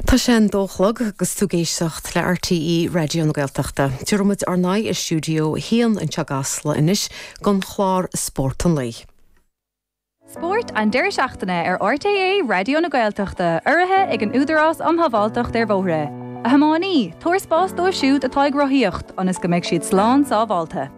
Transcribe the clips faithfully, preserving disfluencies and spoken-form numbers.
Tá sé an dó a chlog agus tú ag éisteacht le RTÉ Raidió na Gaeltachta. Tabharfaimid ár n-aghaidh i stiúideo a haon anseo i gCasla anois don chlár Spórt an Lae. Spórt an deireadh seachtaine ar RTÉ Raidió na Gaeltachta urraithe ag an Údarás um Shábháilteacht ar Bhóithre. A thiománaí, tabhair spás dóibh siúd atá ag rothaíocht ionas go mbeidh siad slán sábháilte.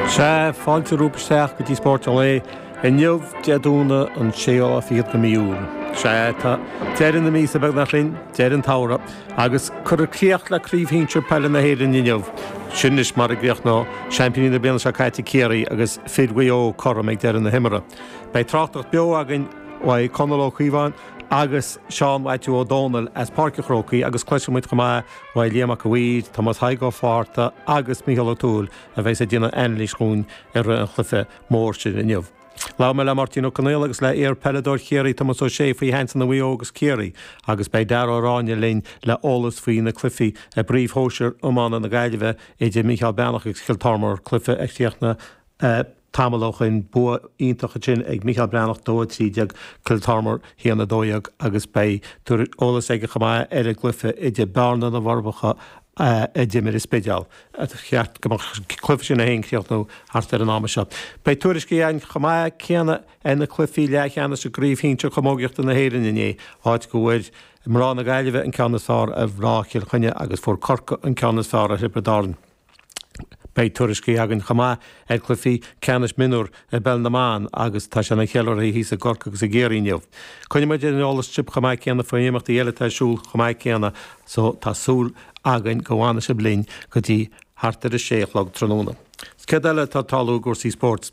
Sea, fáilte romhaibh isteach go dtí Spórt an Lae inniu Dé Domhnaigh an séú lá fichead de mí Iúil. Sea, tá deireadh na míosa beagnach linn, deireadh an tsamhraidh, agus cuirfear críoch le Craobh Shinsir Peile na hÉireann inniu. Sin anois mar a gcríochnóidh seaimpíní na bliana seo caite Ciarraí agus fir Mhaigh Eo cothrom ag deireadh na himeartha. Beidh tráchtaireacht beo againn uaidh Conall Ó Caoimhín agus Seán Mhaitiú Ó Dónaill as Páirc an Chrócaigh agus cloisfidh muid chomh maith uaidh Liam Mac a' Mhaoir, Tomás Thaidhg Ó Fátharta agus Mícheál Ó Tuathail a bheas ag déanamh anailís dhúinn ar an chluiche mór sin inniu. Labhair mé le Máirtín Ó Conaola agus le iar-pheileadóir Chiarraí Tomás Ó Sé faoi sheansanna Mhaigh Eo agus Ciarraí agus beidh Dara Ó Ráinne linn le eolas faoi na cluichí i bPríomh Shóisir Iomána na Gaillimhe idir Mícheál Breathnach agus Cill Tormar, cluiche a chríochnaigh Tamall ó shoin, bua iontach ansin ag Mícheál Breathnach, dó a trí déag, Cill Tormar, haon a dó dhéag, agus beidh eolas aige chomh maith ar an gcluiche idir Bearna na bhForbacha a d'imir an Spidéal. Ba cheart go mbeadh an cluiche sin féin ag críochnú thart ar an am seo. Beidh tuairiscí againn chomh maith céanna ar na cluichí leathcheannais i gCraobh Shinsir Chamógaíochta na hÉireann inné, áit go bhfuair mná na Gaillimhe an ceann is fearr ar mhná Chill Chainnigh agus fuair Corcaigh an ceann is fearr ar Thiobraid Árann. Beidh tuairiscí againn chomh maith ar chluichí ceannais mionúr i bPeil na mBan agus tá sé ina cheiliúrtha thíos i gCorcaigh agus i gCiarraí inniu. Coinneoidh muid ar an eolas sibh chomh maith céanna faoi imeachtaí eile atá ar siúl chomh maith céanna so tá súil againn go bhfanfaidh sibh linn go dtí thart ar a sé a chlog tráthnóna. Céard eile atá ag tarlú i gcúrsaí spóirt?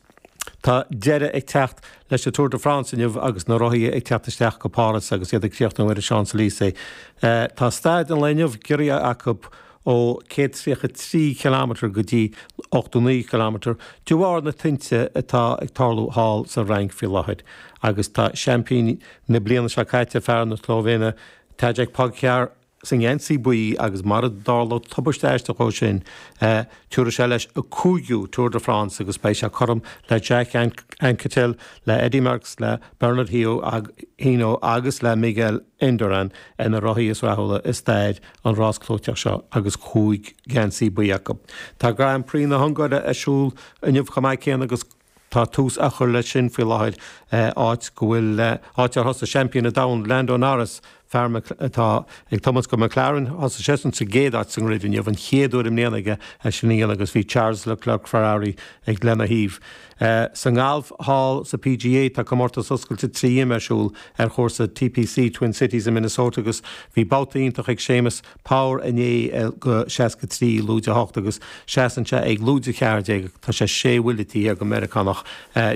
Tá deireadh ag teacht leis an Tour de France inniu agus na rothaithe ag teacht isteach go Páras agus iad ag críochnú ar an Champs-Élysées. Tá staid an lae inniu giorraithe acu ó céad tríocha trí chileámeter go dtí ochtó naoi chileámeter de bharr na tinte atá ag tarlú thall sa Fhrainc faoi láthair agus tá seaimpín na bliana seo caite, fear na Slóivéine, Tadej Pogacar, sa ngeansaí buí agus mara dtarlódh tubaiste aisteach ó sin, tabharfaidh sé leis a cúigiú Tour de France agus beidh sé cothrom le Jacques Anquetil, le Eddy Merckx, le Bernard Hinault agus le Miguel Indurain ar na rothaithe is rathúla i stair an rás clúiteach seo agus cúig gheansaí buí acu. Tá Grand Prix na hUngáire ar siúl inniu chomh maith céanna agus tá tús á chur leis sin faoi láthair, áit go bhfuil, áit ar thosaigh seaimpín an domhain Lando Norris, fear atá ag tiomáint do McLaren, thosaigh seisean sa gcéad áit sa ngrid inniu, an chéad uair i mbliana aige é sin a dhéanamh agus bhí Charles Leclerc Ferrari ag lena thaobh. Sa ngalf thall sa PGA tá comórtas oscailte trí ime ar siúl ar chúrsa TPC Twin Cities i Minnesota agus bhí babhta iontach ag Séamus Power inné go seasca trí, lúide a hocht agus seasann sé ag lúide a ceathair déag. Tá sé sé bhuille taobh thiar den Meiriceánach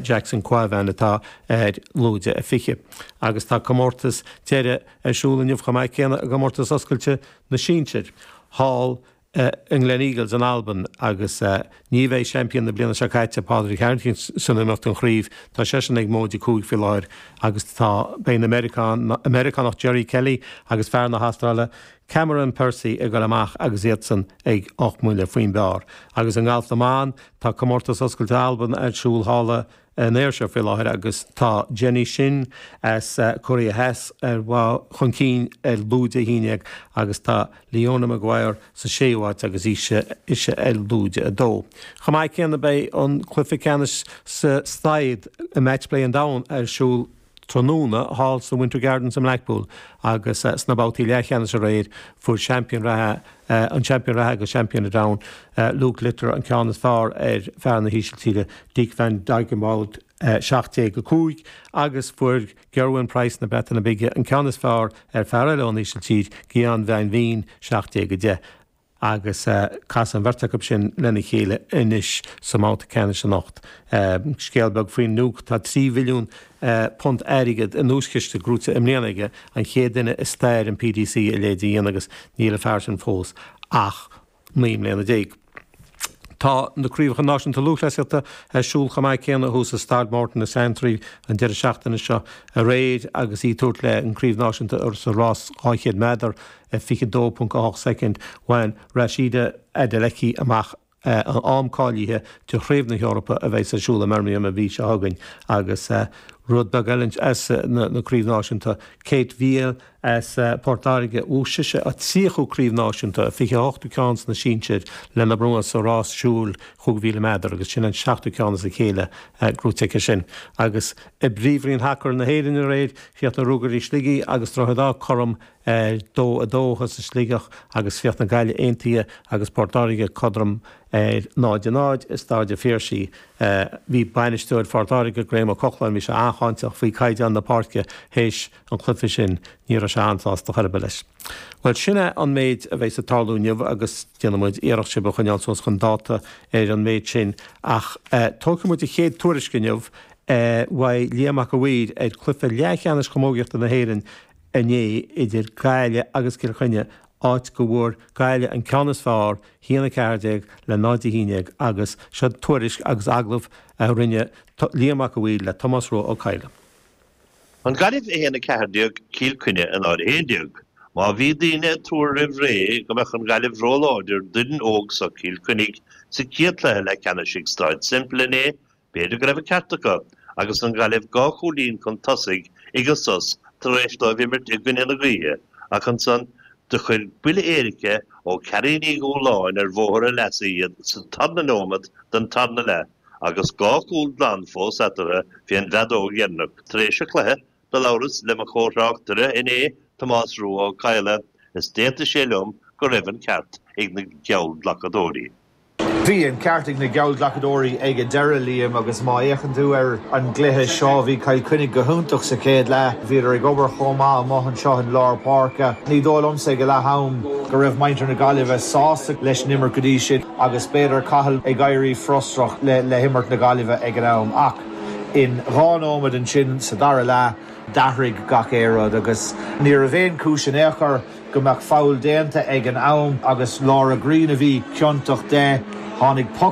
Jackson Quavan atá ar lúide a fiche. Agus tá comórtas deiridh ar siúl inniu chomh maith céanna i gcomórtas oscailte na sinsear thall i nGleneagles in Albain agus ní bheidh seaimpín na bliana seo caite, Pádraig Harrington, san iomaíocht don chraobh. Tá seisean ag móide cúig faoi láthair agus tá beidh an Meiriceánach Jerry Kelly agus fear na hAstráile Cameron Percy ag dul amach agus iadsan ag ocht mbuille faoin bpar. Agus i ngalf na mban, tá comórtas oscailte Alban ar siúl thall i an Ayrshire faoi láthair agus tá Jenny Shin as Cóiré Theas ar chun cinn ar lúide a haon déag agus tá Leona Maguire sa séú háit agus ise ise ar lúide a dó. Chomh maith céanna beidh an cluiche ceannais sa saighead i Matchplay an Domhain ar siúl tráthnóna thall sa Winter Gardens i mBlackpool agus sna babhtaí leathcheannais aréir fuair seaimpín reatha an seaimpín reatha agus seaimpín an domhain Luke Littler an ceann is fearr ar fear na hÍsiltíre Dick van Dijvenbode seacht déag a cúig agus fuair Gerwyn Price na Breataine Bige an ceann is fearr ar fear eile ón Ísiltír Gian van Veen seacht déag a deich. agus casfaidh an bheirt acu sin lena chéile anois sa mbabhta ceannais anocht. Scéal beag faoin Luke, tá trí mhilliún punt airgid i nduaischiste gnóite i mbliana aige, an chéad duine i stair an PDC a leithéid a dhéanamh agus níl an fear sin fós ach naoi mbliana déag. Tá na Craobhacha Náisiúnta Lúthchleasaíochta ar siúl chomh maith céanna thuas i Staid Morton i Santry an deireadh seachtaine seo aréir agus í ag tabhairt léi an Craobh Náisiúnta sa rás dhá chéad méadar i fiche dó ponc a hocht soicind. Bhain Rhasidat Adeleke amach an am cáilithe do Chraobh na hEorpa a bheidh ar siúl i mBirmingham an mhí seo chugainn agus rud beag eile as na craobh náisiúnta Kate Veale as Port Láirge bhuaigh sise a tríochú craobh náisiúnta fiche a hochtú ceann sna sinsir lena bronnadh sa rás siúil chúig mhíle méadar agus sin an seachtú ceann as a chéile gnóite aici sin. Agus i bPríomhroinn Shacar na hÉireann aréir chríochnaigh Ruagairí Shligigh agus Droichead Átha cothrom ar dó a dó thuas i Sligeach agus chríochnaigh Gaillimh Aontaithe agus Port Láirge cothrom ar náid a náid i Staid an Phiarsaigh. Bhí bainisteoir Phort Láirge, Graham Ó Cochláin, bhí sé an-cháinteach faoi caighdeán na páirce théis an chluiche sin. Ní raibh sé an-sásta chor ar bith leis. Bhuel, sin é an méid a bheidh ag tarlú inniu agus déanfaidh muid iarracht sibh a choinneáil suas chun dáta ar an méid sin ach tógfaidh muid an chéad tuairisc inniu uaidh Liam Mac a' Mhaoir ar chluiche leathcheannais chamógaíochta na hÉireann inné idir Gaillimh agus Cill Chainnigh, áit go bhfuair Gaillimh an ceann is fearr, a haon a ceathair déag le náid a haon déag agus seo tuairisc agus agallamh a rinne Liam Mac a' Mhaoir le Tomás Rua Ó Cadhla. An Ghaillimh a haon a ceathair déag, Cill Chainnigh a náid a haon déag. Má bhí daoine ag tuar roimh ré go mbeadh an Ghaillimh róláidir d'fhoireann óg seo Chill Chainnigh sa chéad chluiche leathcheannais ag Staid Semple inné, B'fhéidir go raibh an ceart acu, agus an Ghaillimh dhá chúilín chun tosaigh ag an sos tar éis dóibh imirt i gcoinne na gaoithe, ach ansan do chuir buille éirice ó Carrie Ní Dhúláin ar bhóthar a leasa iad sa tarna nóiméad den tarna leath agus dhá chúl glan fós eatarthu fén bhfeadóg dheireanach. Tar éis an chluiche, do labhras le mo chomhthráchtaire inné, Tomás Rua Ó Cadhla, is d'aontaigh sé liom go raibh an ceart ag na geallghlacadóirí. Bhí an ceart ag na geallghlacadóirí ag an deireadh, Liam, agus má fhéachann tú ar an gcluiche seo, bhí Cill Chainnigh go hiontach sa chéad leath. Bhíodar ag obair chomh maith amuigh anseo in lár páirce. Ní dóigh liomsa ag a leath am go raibh muintir na Gaillimhe sásta leis an imirt go dtí sin agus b'fhéidir Cathal ag éirí frustrach le le himirt na Gaillimhe ag an am. Ach in dhá nóiméad ansin sa dara leath, d'athraigh gach aon rud agus ní raibh aon chúis in aon chor go mbeadh foul déanta ag an am agus Laura Green a bhí ciontach de. Tháinig poc